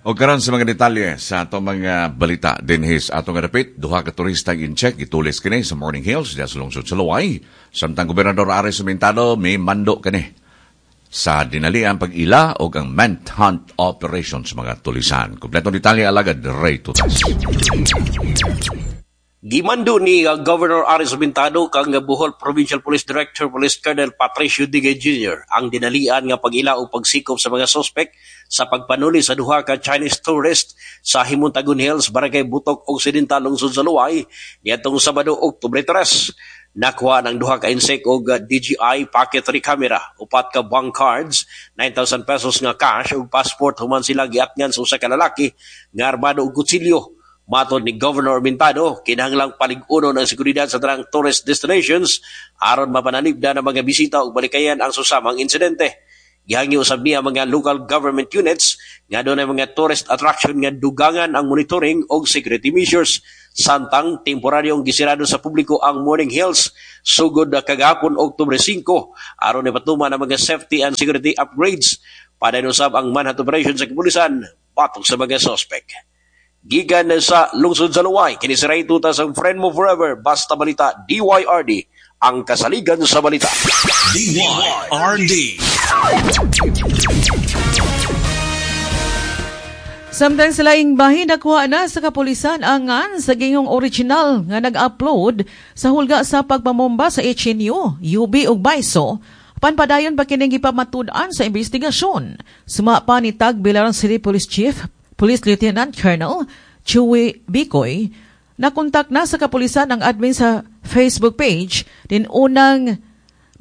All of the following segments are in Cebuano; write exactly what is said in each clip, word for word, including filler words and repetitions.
O karon sa mga detalye sa atong mga balita dinhi sa atong dapit, duha ka turista Intsik gitulis kini sa Morning Hills diha sa lungsod sa Loay. Samtang Gobernador Aris Sumintado may mando kini sa dinaliang pag-ila o ang manhunt operation sa mga tulisan. Kompletong detalye, alagad Ray Tutas. Gimando ni uh, Governor Aris Mintado kang Bohol Provincial Police Director Police Colonel Patricio Digay Junior ang dinalian nga pag-ila o pagsikop sa mga suspek sa pagpanuli sa duha ka Chinese tourist sa Himontagon Hills, Barangay Butok, Occidental, Lungsod sa Loay niadtong Sabado, Oktubre tres. Nakuha ng duha ka Intsik og D J I Pocket three camera, upat ka bank cards, nine thousand pesos nga cash ug passport human sila giatngan sa usa ka lalaki nga armado og kutsilyo. Matod ni Governor Mintado, kinahanglang palig-unon ang seguridad sa tanang tourist destinations aron mapanalipdan ang mga bisita ug balikayan ang susamang insidente. Gihangyo usab niya mga local government units nga dunay mga tourist attraction nga dugangan ang monitoring og security measures. Samtang temporaryong gisirado sa publiko ang Morning Hills sugod kagahapon, Oktubre singko, aron ipatuman ang mga safety and security upgrades. Padayon usab ang manhunt operation sa kapulisan batok sa mga suspect. Gikan sa lungsod sa Loay, kini si Ray Tutas, ang friend mo forever, Basta Balita, D Y R D, ang kasaligan sa balita. D Y R D. Samtang sa laing bahin, nakuha na sa kapulisan ang ngan sa giingong original nga nag-upload sa hulga sa pagpamomba sa H N U, U B ug BISO. Panpadayon pa kining gipamatud-an sa investigasyon. Suma pa ni Tagbilaran City Police Chief, Police Lieutenant Colonel Chewy Bicoy, nakontak na sa kapulisan ang admin sa Facebook page din unang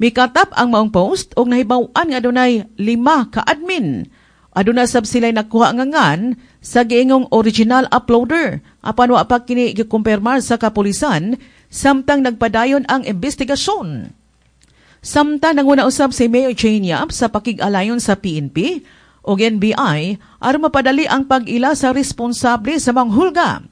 mikatap ang maong post og nahibaw-an nga adunay lima ka admin. Aduna sab sila'y nakuha nga ngan sa giingong original uploader. Apan wa pa kini gikumpirmar sa kapulisan samtang nagpadayon ang investigasyon. Samtang nanguna usab si Mayor Jane Yap sa pakig-alayon sa P N P o N B I aron mapadali ang pag-ila sa responsable sa manghulga.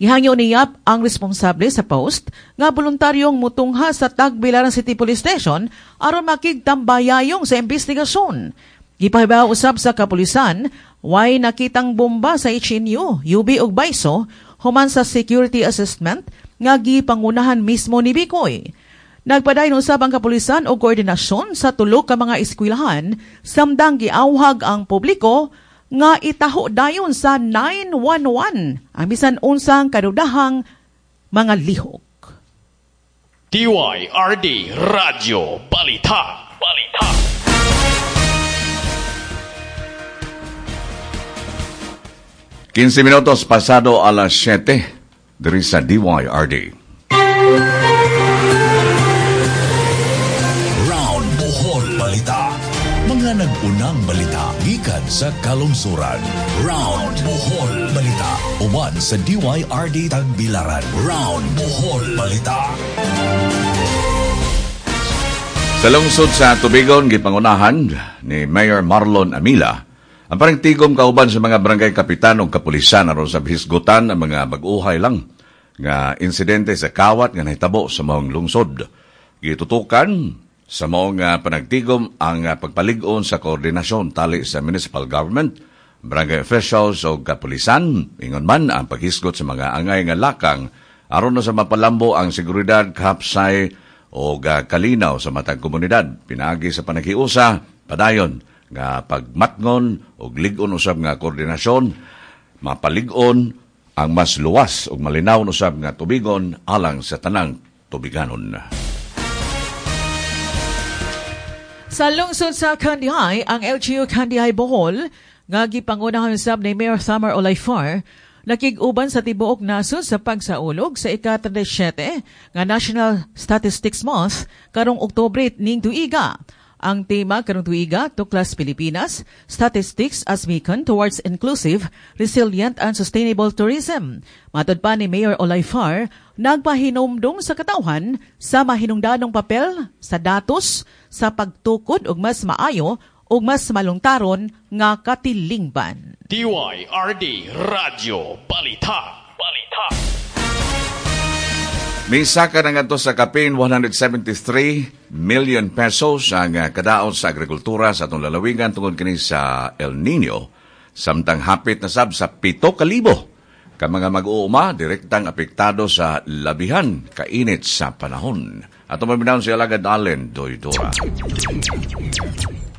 Gihangyo ni Yap ang responsable sa post nga voluntaryong mutungha sa Tagbilaran City Police Station aron makigtambayayong sa investigasyon. Gipahibaw usab sa kapulisan, way nakitang bomba sa H N U, U B ug BISO human sa security assessment nga gipangunahan mismo ni Bicoy. Nagpadayon usab ang kapulisan og koordinasyon sa tulo ka mga eskwelahan samtang giawhag ang publiko nga itaho dayon sa nine one one ang bisan unsang kadudahang mga lihok. D Y R D Radyo Balita. Balita. kinse minutos pasado alas siyete diri sa D Y R D. Round Bohol Balita. Mga nag-unang balita gikan sa kalungsuran. Round Bohol Balita. Uban sa D Y R D Tagbilaran. Round Bohol Balita. Sa lungsod sa Tubigon, gipangunahan ni Mayor Marlon Amila ang panagtigom kauban sa mga barangay kapitan o kapulisan aron sa hisgutan ang mga bag-uhay lang nga insidente sa kawat nga nahitabo sa maong lungsod. Gitutukan sa maong ah, panagtigom ang ah, pagpalig-on sa koordinasyon tali sa municipal government, barangay officials o kapulisan, ingon man ang paghisgot sa mga angay nga lakang aron na sa mapalambo ang seguridad, kapsay o kalinaw sa matag komunidad. Pinaagi sa panaghiusa, padayon nga pagmatngon og lig-on usab nga koordinasyon, mapalig-on ang mas luwas ug malinaw usab nga tubigon alang sa tanang tubiganon. Sa lungsod sa Kandihay, ang L G U Kandihay Bohol nga gipangunahan usab ni Mayor Thamar Olayfar nakig-uban sa tibuok nasod sa pagsaulog sa ika-trenta y siyete nga National Statistics Month karong Oktubre ning tuiga. Ang tema karong tuiga, Tuklas Pilipinas, Statistics as Beacon Towards Inclusive, Resilient and Sustainable Tourism. Matod pa ni Mayor Olayfar, nagpahinumdong sa katawhan sa mahinungdanong papel sa datos sa pagtukod og mas maayo ug mas malungtaron nga katilingban. D Y R D Radyo Balita. Balita. Misaka na ngadto sa kapin one hundred seventy-three million pesos ang ah, kadaot sa agrikultura sa atong lalawigan tungod kini sa El Nino. Samtang hapit na sab sa pito kalibo ka mga mag-uuma direktang apektado sa labihan kainit sa panahon. Ato maminaw si Alagad Allen Doydora.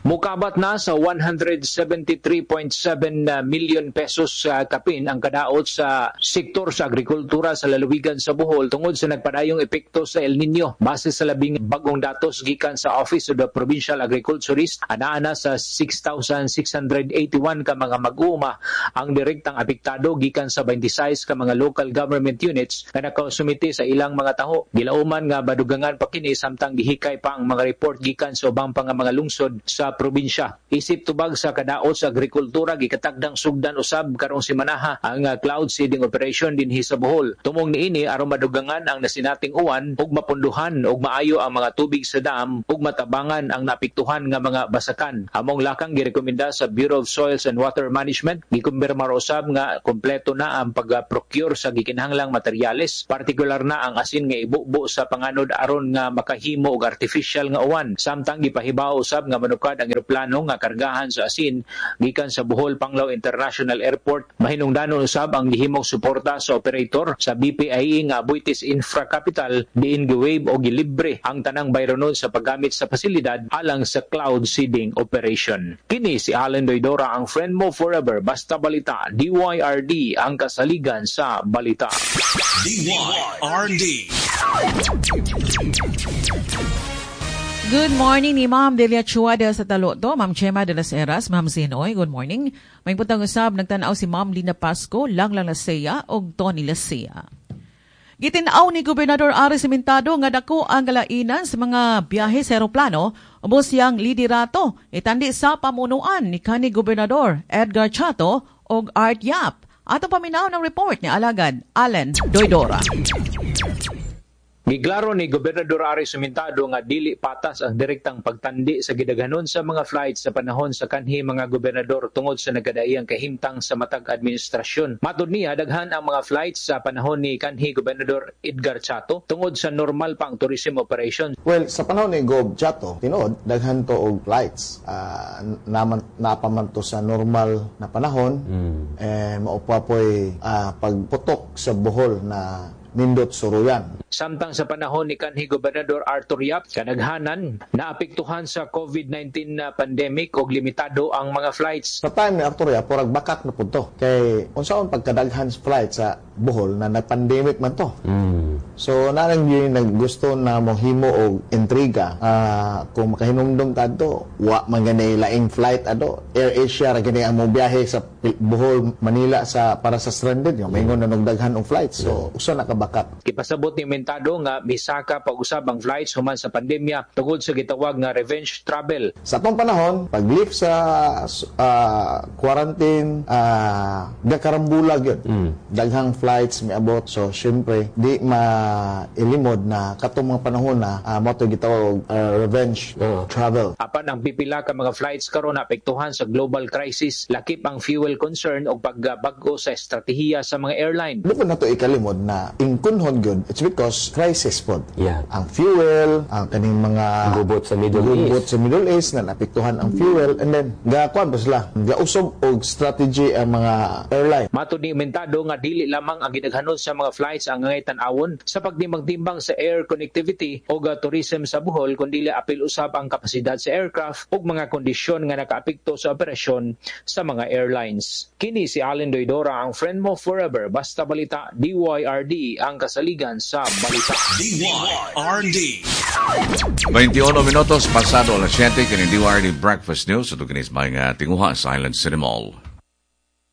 Mukabat na sa one hundred seventy-three point seven million pesos sa kapin ang kadaot sa sektor sa agrikultura sa lalawigan sa Bohol tungod sa nagpadayong epekto sa El Nino. Base sa labing bagong datos gikan sa Office of the Provincial Agriculturist, anaa na sa six thousand six hundred eighty-one ka mga mag-uuma ang direktang apektado gikan sa twenty-six ka mga local government units nga nakasumite sa ilang mga taho. Gilauman nga badugangan pa kini samtang gihikay pa ang mga report gikan sa ubang pa nga mga lungsod sa probinsya. Isip tubag sa kadaot sa agrikultura, gikatagdang sugdan usab karong simanaha ang cloud seeding operation dinhi sa Bohol. Tumong niini aron madugangan ang nasinating uwan ug mapunduhan ug maayo ang mga tubig sa dam ug matabangan ang naapektuhan nga mga basakan. Among lakang girekomenda sa Bureau of Soils and Water Management, gikumpirma usab nga kompleto na ang pag-procure sa gikinahanglang materyales, partikular na ang asin nga ibubo sa panganod aron nga makahimo og artificial nga uwan. Samtang gipahibaw usab nga manukad ang eroplano nga kargahan sa asin gikan sa Bohol Panglao International Airport. Mahinungdanon usab ang gihimong suporta sa operator sa B P I E nga Aboitiz Infra Capital diin giwaive o gilibre ang tanang bayronon sa paggamit sa pasilidad alang sa cloud seeding operation. Kini si Allen Doydora, ang friend mo forever. Basta balita, D Y R D, ang kasaligan sa balita. D Y R D. Good morning ni Ma'am Delia Chua de sa Taloto, Ma'am Chema de las Heras, Ma'am Zinoy, good morning. May putang usab nagtan-aw si Ma'am Lina Pasco, Langlang Lasea og Tony Lasea. Gitin-aw ni Gobernador Aris Sementado nga dako ang galainan sa mga biyahe sa eroplano ubos siyang liderato itandi sa pamunuan ni kanhi Gobernador Edgar Chato og Art Yap. Atong paminaw ng report ni Alagad Allen Doydora. Giklaro ni Gobernador Aris Sementado nga dili patas ang direktang pagtandi sa gidaghanon sa mga flights sa panahon sa kanhi mga gobernador tungod sa nagkadaiyang kahimtang sa matag administrasyon. Matod niya, daghan ang mga flights sa panahon ni kanhi Gobernador Edgar Chato tungod sa normal pa ang tourism operation. Well, sa panahon ni Gob Chato, tinuod daghan to og flights. Uh, naman napaman to sa normal na panahon, mm. eh mao pa po'y uh, pagputok sa Bohol na nindot suruyan. Samtang sa panahon ni kanhi Gobernador Arthur Yap, kanaghanan naapektuhan sa COVID nineteen na pandemic og limitado ang mga flights. Sa time ni Arthur Yap, murag bakak na pud to. Kay unsaon pagkadaghan sa flight sa Bohol na nag-pandemic man to. Mm. So narang yun naggusto na mohimo og intriga. Uh, kung makahinumdum ta adto, wa man gani laing flight ado. Air Asia ra gani ang mobiyahe sa Bohol, Manila sa para sa stranded nga maingon na nagdaghan og flights. So usa na ka bakak. Gipasabot ni Mentado nga misaka pag-usab ang flights human sa pandemya tungod sa gitawag nga revenge travel. Sa atong panahon, pag-lift sa uh, quarantine, uh, gakarambulag yun. Mm. Daghang flights miabot. So syempre, di mailimod na katong mga panahon na uh, mo to gitawag uh, revenge uh. travel. Apan ang pipila ka mga flights karon naapektuhan sa global crisis, lakip ang fuel concern o pagbag-o sa estratehiya sa mga airline. Di po na to ikalimod na ingkunhon gyud, it's because crisis pod. Yeah. Ang fuel, ang kaning mga gubot sa Middle gubot East. sa Middle East na naapektuhan ang fuel, and then gakuan pa sila, gausob og strategy ang mga airline. Matod ni Mentado nga dili lamang ang gidaghanon sa mga flights ang angay tan-awon sa pagtimbang-timbang sa air connectivity o tourism sa Bohol, kundi apil usab ang kapasidad sa aircraft ug mga kondisyon nga nakaapekto sa operasyon sa mga airlines. Kini si Allen Doydora, ang friend mo forever. Basta balita, D Y R D, ang kasaligan sa balita. D Y R D. twenty-one minutos pasado alas siyete, kini D Y R D Breakfast News. Ito kinis mga tinguha sa Island City Mall.